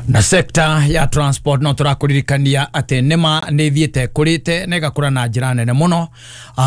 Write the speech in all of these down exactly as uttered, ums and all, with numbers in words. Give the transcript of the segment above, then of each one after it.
Na sekta ya transport no tũrakũririkania atĩ nĩma nĩ thiĩte kũrĩte na ĩgakũra na njĩra nene mũno,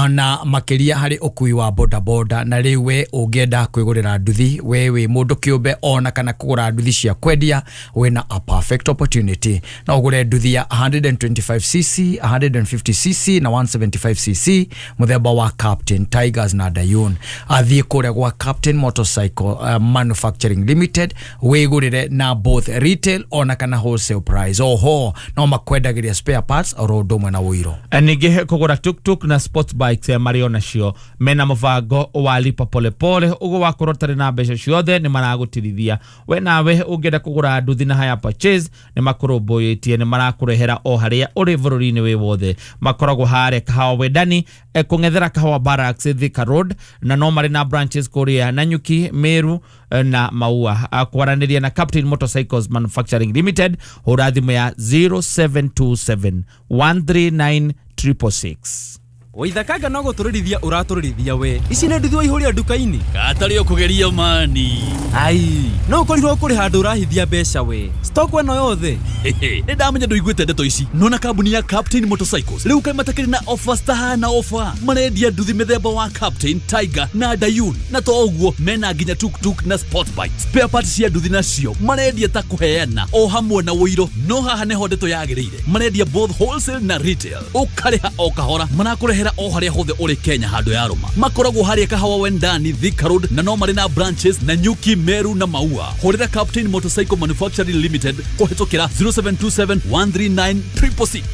na makĩria harĩ ũkui wa bodaboda. Na rĩu we ũngĩenda kwĩgũrĩra nduthi, we wĩ mũndũ kĩũmbe ona kana kũgũra nduthi cia kwendia, wĩna a perfect opportunity. No ũgũre nduthi ya one twenty-five c c, one fifty c c na one seventy-five c c mũthemba wa Captain, Tigers na Dayun. Athiĩ kũrĩa gwa Captain Motorcycle uh, Manufacturing Limited wĩgũrĩre na both retail ona kana wholesale price. Oho no makwendagĩria spare parts oro ũndũ ũmwe na ũiro. Ningĩ kũgũra tuktuk na sports bikes marĩ onacio mena mũbango wa lipa polepole, ũguo wakorwo ũtarĩ na mbeca ciothe nĩ maragũtirithia. We nawe ũngĩenda kũgũra nduthi na hire purchase nĩ makũrũmbũyĩtie, nĩ marakũrehera o harĩa ũrĩ bũrũri-inĩ wĩ wothe. Makoragwo harĩa Kahawa Wendani, kũng'ethera Kahawa Barracks, Thika Road, na no marĩ na branches kũrĩa Nanyuki, Meru na Maua. Kwaranĩria na Captain Motorcycles Manufacturing Limited, hũra thimũ ya zero seven two seven one three nine triple six. Waithakanga no gũtũrĩrithia ũratũrĩrithia we. Ici nĩ nduthi waihũria nduka-inĩ. Gatarĩ ũkũgeria mani. Ai, no ũkorirwo kũrĩ handũ ũrahithia mbeca we. Stock ĩno yothe. Nĩ ndamenya ndũiguĩte ndeto ici. Nona kambuni ya Captain Motorcycles rĩu kaĩ matakĩrĩ na offers tahana offer. Marendia nduthi mĩthemba wa Captain, Tiger na Dayun. Na to ũguo mena nginya tuktuk na sport bike. Spare parts cia nduthi nacio marendia ta kũheana o hamwe na ũiro. No haha nĩho ndeto yagĩrĩire. Marendia both wholesale na retail. Ũkarĩha o kahora. Marakũrehera o harĩa hothe ũrĩ Kenya handũ ya Roma. Makoragwo harĩa Kahawa Wendani, Thika Road, na no marĩ na branches na Nyuki, Meru na Maua. Hũrĩra Captain Motorcycle Manufacturing Limited kũhĩtũkĩra zero seven two seven one three nine triple six.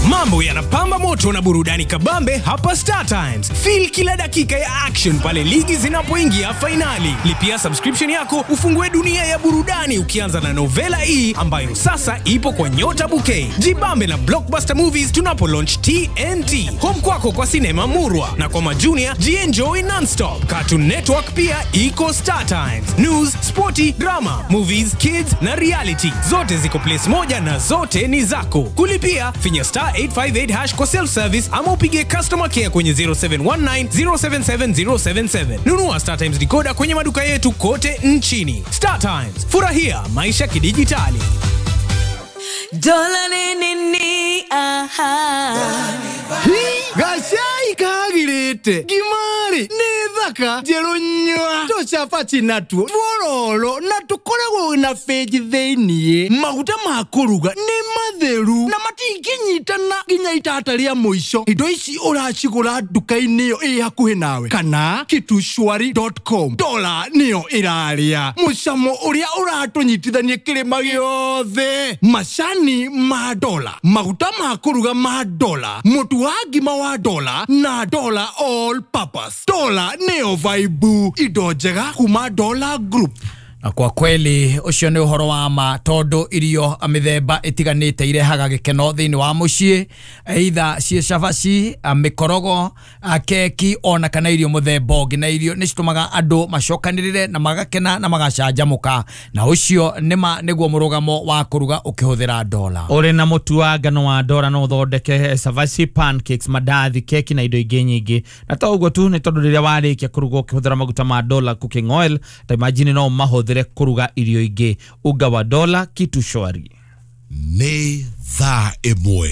Mambo yanapamba moto na burudani kabambe hapa Star Times. Feel kila dakika ya action pale ligi zinapoingia finali. Lipia subscription yako ufungue dunia ya burudani ukianza na Novela E ambayo sasa ipo kwa Nyota Bouquet. Jibambe na Blockbuster Movies tunapo launch T N T. Home kwako kwa sinema murwa na kwa majunia jienjoy nonstop. Cartoon Network pia iko Star Times. News, sporty, drama, movies, kids na reality. Zote ziko place moja na zote ni zako. Kulipia finya star eight five eight hash kwa self service ama upige customer care kwenye zero seven one nine zero seven seven zero seven seven. Nunua Star Times decoder kwenye maduka yetu kote nchini. Star Times, furahia maisha kidijitali. Dola ni ni aha. Gacai kagirite gimari nĩ thaka njerũ nyua tũcabaci natuo twororo na tũkoragwo na benji thĩiniĩ. Maguta ma kũruga nĩ matheru na matingĩnyitana nginya itata rĩa mũico. Indo ici ũracigũra nduka-inĩ ĩyo ĩ hakuhĩ nawe kana kitushwari dot com. Dola nĩyo ĩrarĩa mũcamo ũrĩa ũratũnyitithania kĩrĩma gĩothe. Macani ma dola, maguta ma kũruga ma dola, mũtu wa ngima wa dola na dola all purpose. Dola neo vibe indo njega kuma Dola Group. Na kwa kweli ucio nĩ ũhoro wa ma tondu irio mĩthemba ĩtiganĩte irehaga gĩkeno thĩinĩ wa mũciĩ, either ciĩ cabaci, mĩkorogo, keki ona kana irio mũthemba ũngĩ, na irio nĩ citũmaga andũ macokanĩrĩre na magakena na magacanjamũka, na ũcio nĩma nĩguo mũrũgamo wa kũruga ũkĩhũthĩra dola. Ũrĩ na mũtu wa ngano wa dola no ũthondeke cabaci, pancakes, mandathi, keki na indo ingĩ nyingĩ. Na to ũguo tu, nĩ tondũ rĩrĩa warĩkia kũruga ũkĩhũthĩra maguta ma dola cooking oil, ta imagine no mahũthĩre kuruga irio ingĩ. Unga wa dola kitu shwari. Nĩ thaa ĩmwe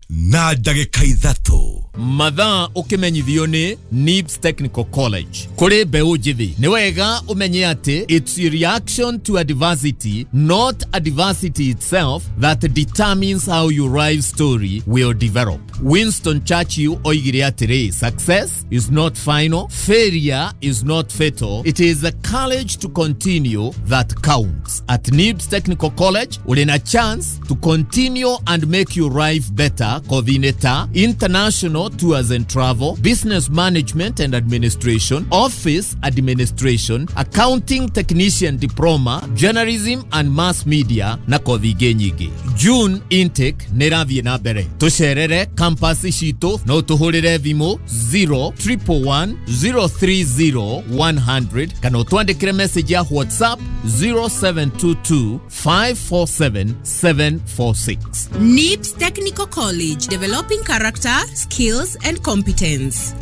na ndagĩka ithatũ. Mathaa ũkĩmenyithio nĩ Nibs Technical College. Kũrĩ mbeũ njĩthĩ, nĩ wega ũmenye atĩ it's a reaction to adversity, not adversity itself, that determines how your life story will develop. Winston Churchill oigire atĩrĩ, success is not final, failure is not fatal, it is the courage to continue that counts. At Nibs Technical College, ũrĩ na chance to continue and make your life better. Coordinator, international tours and travel, business management and administration, office administration, accounting technician diploma, journalism and mass media na kothi ingĩ nyingĩ. June intake nĩ ĩrathiĩ na mbere. Tũcerere campus citũ no tũhũrĩre thimũ zero triple one zero three zero one hundred kana ũtwandĩkĩre message ya WhatsApp zero seven two two five four seven seven four six. Nibs Technical College, developing character, skills and competence.